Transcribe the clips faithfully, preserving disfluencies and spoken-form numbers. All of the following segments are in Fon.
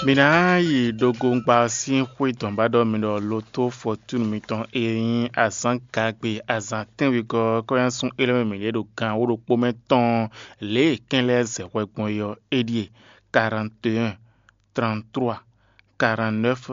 Mi ná yi ɖo gongba ɔ́ sín xwé dɔ̌n ba ɖɔ mi ɖɔ loto fɔtúnu mitɔn e nyí azǎn gagbe azǎn tɛ́nwegɔ́ ɔ́ kɔ́nyásun élɔ́ mɛ mǐɖée ɖo gan wǒ ɖokpó mɛ tɔn lě e kɛn lɛ́ɛ zɛ hwɛ gbɔn é ɔ́, é ɖíe: quarante et un, trente-trois, quarante-neuf,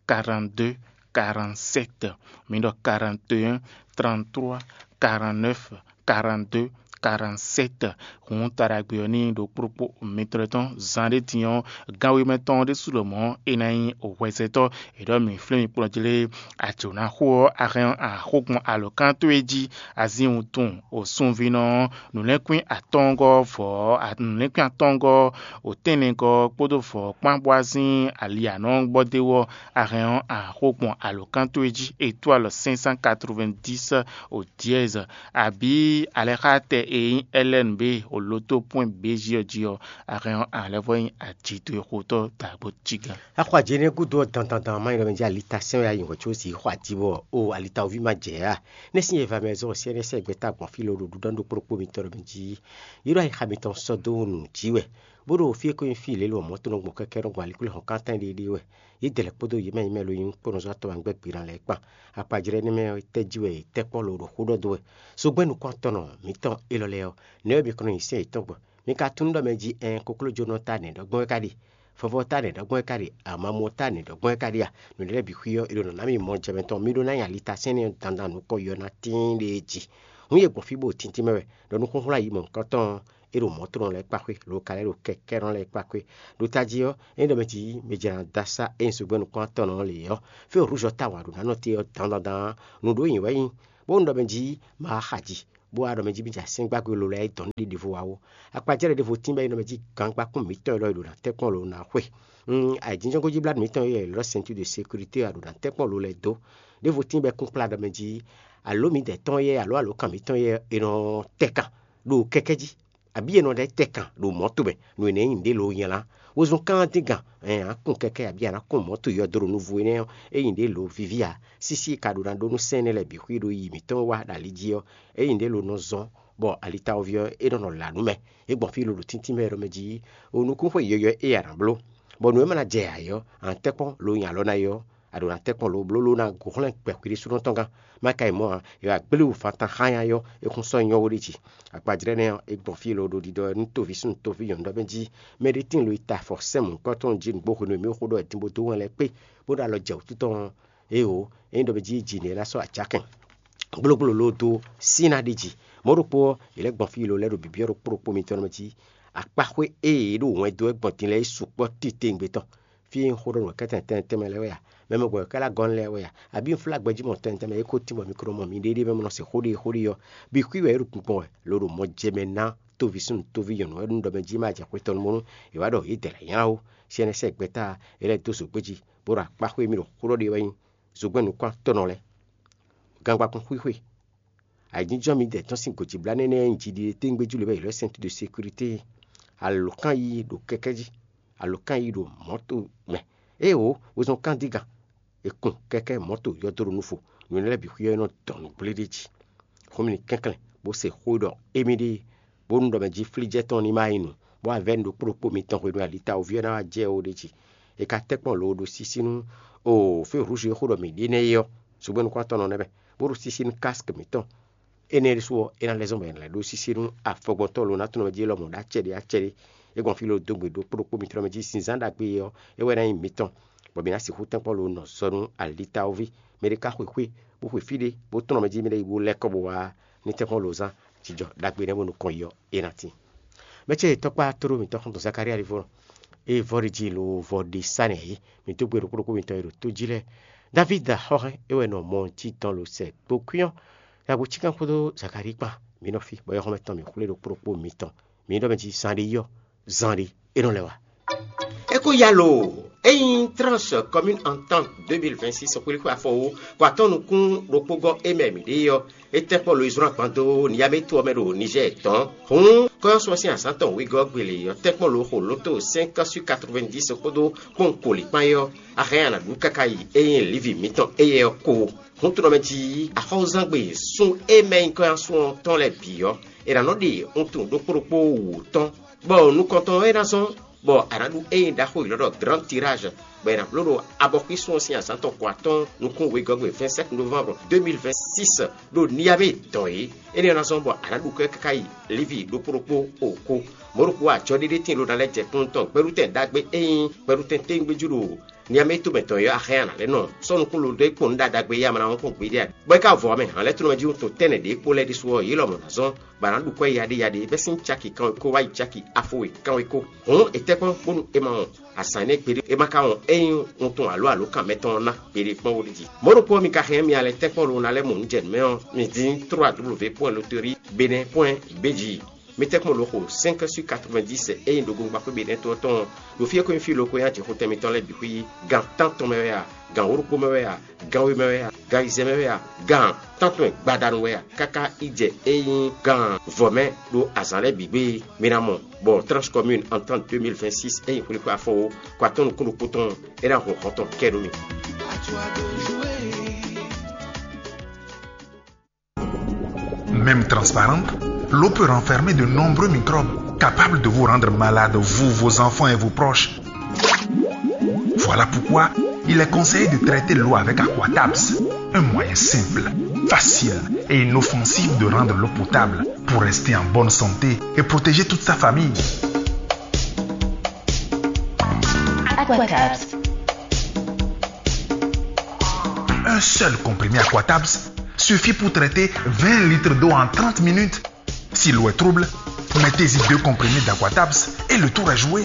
quarante-deux, quarante-sept. Mi ɖɔ quarante et un, trente-trois, quarante-neuf, quarante-deux, quarante-sept. Hǔn ta ɖagbe ɔ́ ní ɖo kplɔ́kpó mitɔn tɔn zan ɖé din ɔ́, gan wěmɛ tɔn ɔ́ ɖésú lɔmɔ̌ é ná nyí hwɛzɛtɔ́. È ɖɔ mǐ flín mi kplɔ́n jlé. Ajǒ ná xo ɔ́, a hɛn ɔ́, a xo gbɔn alɔ̌kan towe jí. Azín wuntun, o sunvínɔ ɔ́, nǔlɛ́nkwín atɔ́ɔ́ngɔ́ vɔ̌, nǔlɛ́nkwín atɔ́ɔ́ngɔ́, o tɛ́nnɛgɔ́ kpódó vɔ̌ kpán bó wá sín ali anɔ́ gbɔ d'é wú ɔ́, a hɛn ɔ́, a xo gbɔn alɔ̌kan towe jí. Étoile cinq cent quatre-vingt-dix, o dièse, abǐ alɛxátɛ e nyí L N B, o loto point B J ɔ́ jí ɔ́, a hɛn ɔ́, a lɛ́ vɔ́ nyí ajǐ towe xotɔ́ dǎgbó cí gán. Axɔ ajě énɛ́ gúdo ɔ́, dandandan má nyí ɖɔ mɛ jí alita sɛ́n wɛ ayǐhɔ́n có sǐ xɔ ají bɔ o alitawoví ma jɛ ǎ. Nɛ́ sín e va mɛ zɔ́n sɛ́nɛ́ sɛ́ gbɛ́ta gbɔn fí lóɖo ɖuɖɔ́ ɖó kplɔ́kpó mitɔn ɖɔ mɛ jí. Yě ɖo ayixa mitɔn sɔ́ dó nǔ jí wɛ, bó ɖo fí e ko nyí fí lě lɔ mɔ̌ to nɔ gbɔn kɛ́kɛ́ nɔ gbɔn aliklú hɔn kántɛn ɖéeɖée wɛ. Yě dɛ lɛ́ kpódó yě mɛ nyí mɛ lo nyí kpónɔzɔ́ atɔn wá gbɛ́ gbe ná lɛ́ɛ kpan. Akpajlɛ́ énɛ́ mɛ ɔ́, tɛ́ jí wɛ yě tɛ́ kpɔ́ lo ɖo xó ɖɔ dó wɛ. Zogbɛ́n nukún atɔn nɔ mǐtɔn élɔ́ lɛ́ɛ ɔ́, nɛ̌ wɛ mi kɔn nɔ nyi sɛ́n yětɔn gbɔn? Mi ka tunú ɖɔ mɛ jí ɛɛn koklójónɔ ta nɛ̌ ɖɔgbɔn wɛ ka ɖe? Fɔfɔ ta nɛ̌ ɖɔgbɔn wɛ ka ɖe? Amamɔ ta nɛ̌ ɖɔgbɔn wɛ ka ɖe a? Nǔɖé lɛ́ɛ bǐ xwí ɔ́, è ɖo nɔ̌ ná mì mɔ jɛ mɛ tɔn. Mi ɖó ná nyi alita sɛ́n nɛ́ ɔ́ dandan nukɔn yɔ ná tíin ɖe jí. Hǔn yě gbɔn fí bó tíntín mɛ wɛ, ɖɔ nukúnxwlá yi mɔ̌hunkɔtɔn ɔ́, é ɖo mɔ̌tɔnɔ lɛ́ɛ kpa xwé, lo ka lɛ́ ɖo kɛkɛ́nɔ lɛ́ɛ kpa xwé. Ɖo tají ɔ́, ényí ɖɔ mɛ jí mɛ jɛ ná dó asá é nyí zogbɛ́n nukún atɔn ɔ́ lě ɔ́, fí e rúzɔ ta wǎn ɖo ná nɔ te ɔ́ dandandan, nǔɖó nyǐ wɛ nyí, bónú ɖɔ mɛ jí ma wá xa ji, bó wá ɖɔ mɛ jí mì jɛ asɛ́ngbágbe lo lɛ́ɛ dɔn ɖi ɖěvo wá ó. Akpajlɛ́ ɖěvo tín bɔ é nɔ mɛ jí gangba kún mǐtɔn élɔ́ e ɖo ná tɛ́nkpɔ́n lo ná xwe. Ayǐjínjɔ́n gɔ́jíblánú mǐtɔn e è ylɔ́ ceinture de sécurité ɔ́ ɖo ná tɛ́nkpɔ́n lo lɛ́ɛ dó. Ɖěvo tín bɔ é kún kplá ɖɔ mɛ jí alǒ mǐdɛɛ tɔn yɛ alǒ alǒkan mǐtɔn yɛ è nɔ tɛ́ kan ɖo kɛkɛ́ jí, abǐ è nɔ ɖɛ́ tɛ kan ɖo mɔ̌ tomɛ, nú è nɛ̌ nyi nǔɖé lǒ nylá. Wezun kán dín gǎn, ɛn a kún kɛkɛ́ abǐ a nǎ kún mɔ̌ to yɔdó ɖo nuvo énɛ́ ɔ́, é nyi nǔɖé lǒ víví ǎ. Sísí ka ɖo ná ɖó nú sɛ́n énɛ́ lɛ́ɛ bǐ xwí ɖo yi mǐtɔn wá ɖo ali jí ɔ́, é nyi nǔɖé lǒ nɔ zɔ́n, bɔ alitawoví ɔ́ é nɔ nɔ la nǔ mɛ. É gbɔn fí lolo tíntín mɛ ɖɔ mɛ jí, o nukúnxwe yɔyɔ́ é a nǎ bló, bɔ nǔ e ma ná jɛ yǎ é ɔ́, a nǎ tɛ́ kpɔ́n lo nyi alɔ ná é ɔ́, a ɖǒ ná tɛ́ kpɔ́n lo bló ló ná gǒ xlɛ́n gbɛ̌ xwíɖésúnɔ tɔn gán. Má ka yi mɔ̌ ǎ, è wǎ gblé wǔ fán tán xánya ɔ́, é kún sɔ́ nyɔ́ we ɖ'é jí. Akpajlɛ́ nɛ́ ɔ́, é gbɔn fí e lo ɖo ɖiɖɔ nú toví súnnu toví nyɔ̌nu ɖɔ mɛ jí, mɛɖé tíin lo yi ta afɔ sɛ́n mɔ̌hunkɔtɔn jí nǔgbó hwenu e mǐ xo ɖɔ wɛ din bó dó wɛn lɛ́ɛ kpé, bó ɖo alɔ jɛ wǔtu tɔn ɔ́, éeǒ, é nyí ɖɔ mɛ jí jǐ nɛ́ ná sɔ́ acǎkɛn. Gblógbló ló dó sín ná ɖi jǐ. Mɔ̌ ɖokpó ɔ́, è lɛ́ gbɔn fí lo lɛ́ ɖo bǐbyɔ́ ɖokpó ɖokpó mitɔn mɛ jí. Akpáxwé e yě ɖo wɛn dó wɛ gbɔn din lɛ́ɛ yi sukpɔ́ titewungbe tɔn. Fí e un xó ɖɔ nǔ kɛ́tɛn tɛnmɛ tɛnmɛ lɛ́ɛ wɛ a? Mɛ mɔgbɔ̌ wɛ ká lɛ́ gɔ́ lɛ́ɛ wɛ a? Abǐ un flá gbɛjí mɔ̌ tɛnmɛ tɛnmɛ é ko tín bɔ mi ko nɔ mɔ miɖée ɖé mɛ mɔ nɔ se xó ɖé xó ɖé ɔ́, bǐ xwí wɛ é ɖo gbɔn wɛ, lo ɖo mɔ jɛ mɛ ná tóví súnnu tóví nyɔ̌nu wɛ ɖo ɖɔ mɛ jí má jɛ xwetɔnu bónú è wǎ ɖɔ yě dɛ lɛ̌ nylá ó. Sɛ́nɛ́ sɛ́ gbɛ́ta e lɛ́ɛ dó zǒgbé jí, bó ɖo akpáxwé mì ɖo xó ɖɔ ɖe wɛ nyí zogbɛ́nukún atɔ́nɔ lɛ́ɛ. Gangbakún xwíxwe. Ayǐjínjɔ́n midɛɛ tɔn sín gǒjíblánú énɛ́ e nyí jiɖiɖe téwúngbéjú lě wɛ è ylɔ́ ceinture de sécurité é. Alǒkan yíyí ɖo kɛkɛ́ jí, alǒkan yíyí ɖo mɔ̌to mɛ. Éeǒ, wezun kán dígan, è kun kɛkɛ́ mɔ̌to yɔdó ɖo nufo, nǔ énɛ́ lɛ́ɛ bǐ xwíyɔ́ é nɔ dɔn nǔgblé ɖé jí. Xómìnì kɛnklɛ́n bó se xó e ɖɔ émí ɖée, bónú ɖɔ mɛ jí flíjɛ́ tɔn ní ma nyí nǔ, bó wá vɛ́ nǔ ɖokpó ɖokpó mitɔn hwenu e alitawoví ɔ́ ná wá jɛ ó ɖ'é jí. È ka tɛ́ kpɔ́n lo ɖo sísí nú o fé hǔzú e xó ɖɔ mǐ ɖe nɛ́ é ɔ́, zogbɛ́nukún atɔ́nɔ nɛ́ mɛ, bó ɖo sísí nú kásk mǐtɔn. Énɛ́ ɖésú ɔ́, é ná lɛ́ zɔ́n bɔ è nǎ lɛ́ ɖó sísí nú afɔgbɔntɔ́ lo ná tunwun mɛ jí élɔ́ mɔ̌ ɖó acɛ ɖé acɛ ɖé. É gbɔn fí lo dó gbe ɖokpó ɖokpó mitɔn mɛ jí sinzán ɖagbe ɔ́, é wɛ ná nyí mitɔn, bɔ mǐ ná sixú tɛ́nkpɔ́n lo nɔ zɔ nú alitawoví. Mɛ ɖé ka xwe xwé, bó xwe fí ɖé, bó tunwun mɛ jí mɛ ɖé yi bó lɛ́ kɔ bó wá ní tɛ́nkpɔ́n lo zán. Jijɔ ɖagbe nɛ́ bó nukɔn yi ɔ́, é ná tíin. Mɛ ce tɔkpá tóɖó mǐtɔn xɔ́ntɔn Zakalía ɖěvo nɔ. É vɔ ɖi jí lo vɔ ɖe sá nɛ yě, mǐ dó gbe ɖokpó ɖokpó mitɔn e ɖo tó jí lɛ́ɛ. Davídi axɔ́hɛn é wɛ nɔ mɔ jí tɔn lo sɛ gbokwín ɔ́, yǎgbo cíkan kpódó Zakalíi kpán, mǐ nɔ fí, bɔ yɔxɔmɛ tɔn mǐ xwlé ɖokpó ɖokpó mitɔn. Mǐ ɖɔ mɛ jí zan ɖé yí ɔ́, zan ɖé é nɔ lɛ́ wá. É ko ya lo, ényí Tranche Commune Entente deux mille vingt-six xwlíxwé afɔwú kɔ atɔ́ nukún ɖokpó gɔ́ é mɛ mǐ ɖe é ɔ́, é tɛ́ kpɔ́ lo yi zlɔ́n agban dó Niyamétu ɔ́ mɛ ɖo Nizɛ́ɛ tɔn. Hǔn kɔ́yɔ́sɔ́ sín azǎn tɔn wegɔ́ gbele ɔ́ tɛ́ kpɔ́ lo xo lǒto cinq sur quatre-vingt-dix kpódó kpɔ́n koli kpán é ɔ́, a hɛn a nǎ ɖu káká yi ényí lívi mǐtɔn éyɛ́ ɔ́ ko. Hǔn tunɔ mɛ jí axɔ́zangbe sún e mɛ nyí kɔ́yɔ́sɔ́ tɔn lɛ́ɛ bǐ ɔ́, è nǎ nɔ ɖe wuntun ɖokpó ɖokpó wǔ tɔn, bɔ nukɔntɔn ɔ́ é ná zɔ́n Bɔ a nǎ ɖu ényí ɖaxó yěɖɔ́ ɖɔ Grand Tirage, bɔ è nǎ bló ɖo abɔxwísun ɔ́ sín azǎn tɔn kɔ atɔ́ɔ́n nukún wegɔ́gbe vingt-sept novembre deux mille vingt-six ɖo Niamey dɔn é. Énɛ́ ɔ́ ná zɔ́n bɔ a nǎ ɖu kwɛ́ káká yi Livi ɖokpó ɖokpó oko. Mɔ̌ ɖokpó ajɔɖéɖé tíin ɖó ná lɛ́ jɛ kplɔ́n tɔn gbɛɖutɛn ɖagbe ényí gbɛɖutɛn téwúngbéjú ɖo Niamey tomɛ tɔn ɔ́ axɛ́ a nǎ lɛ́ nɔ sɔ́ nukún lo ɖé kpɔn nǔ ɖaɖagbe e ama ná wɔn kpɔ́n gbeɖé ǎ. Bɔ é ka vɔ ɔ́ mɛ, hǎnlɛ́tonɔmɛ jí wuntun tɛ́nnɛ ɖě kpó lɛ́ɛ ɖésú ɔ́, yě lɔmɔ̌ ná zɔ́n bɔ a nǎ ɖu kwɛ́ yaɖéyaɖé bɛ́ sín caki kanwekó wá yi caki afo we kanwekó. Hǔn è tɛ́ kpɔ́n bónú è ma wɔn azǎn énɛ́ gbeɖé, è ma ka wɔn ényí wuntun alǒ alǒkan mɛtɔn ɔ́ ná gbeɖé kpɔ́n ó ɖi jí. Mɔ̌ ɖokpó ɔ́, mi ka hɛn mì alɛ tɛ́nkpɔ́n lo ná lɛ́ mɔ nǔ jɛ nǔ mɛ ɔ́, mi dín trois W point loterie benin point B G. Mi tɛ́nkpɔ́n lo xo cinq sur quatre-vingt-dix ényí ɖo gongbaxwé benin tɔn tɔn ɔ́, ɖo fí e ko nyí fí lo ko nyí ajixotɛn mitɔn lɛ́ɛ bǐ xwí, gan tántɔn mɛ wɛ a, gan wǒ ɖokpó mɛ wɛ a, gan we mɛ wɛ a, gan ayizɛ́n mɛ wɛ a, gan tántɔn gbadanu wɛ a, káká yi jɛ ényí gan vɔ̌ mɛ ɖo azǎn lɛ́ɛ bǐ gbé. Mi ná mɔ bɔ Tranche Commune Entente deux mille vingt-six ényí xwlíxwé afɔwó kɔ atɔ́ nukún ɖokpó tɔn é ná hun hɔn tɔn kɛ nú mi. Même transparente, l'eau peut renfermer de nombreux microbes capables de vous rendre malade, vous, vos enfants et vos proches. Voilà pourquoi il est conseillé de traiter l'eau avec Aquatabs, un moyen simple, facile et inoffensif de rendre l'eau potable pour rester en bonne santé et protéger toute sa famille. Aquatabs. Un seul comprimé Aquatabs suffit pour traiter vingt litres d'eau en trente minutes. Si l'eau est trouble, mettez-y deux comprimés d'Aquatabs et le tour est joué.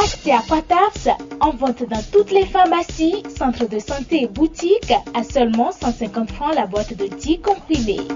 Achetez Aquatabs en vente dans toutes les pharmacies, centres de santé et boutiques à seulement cent cinquante francs la boîte de dix comprimés.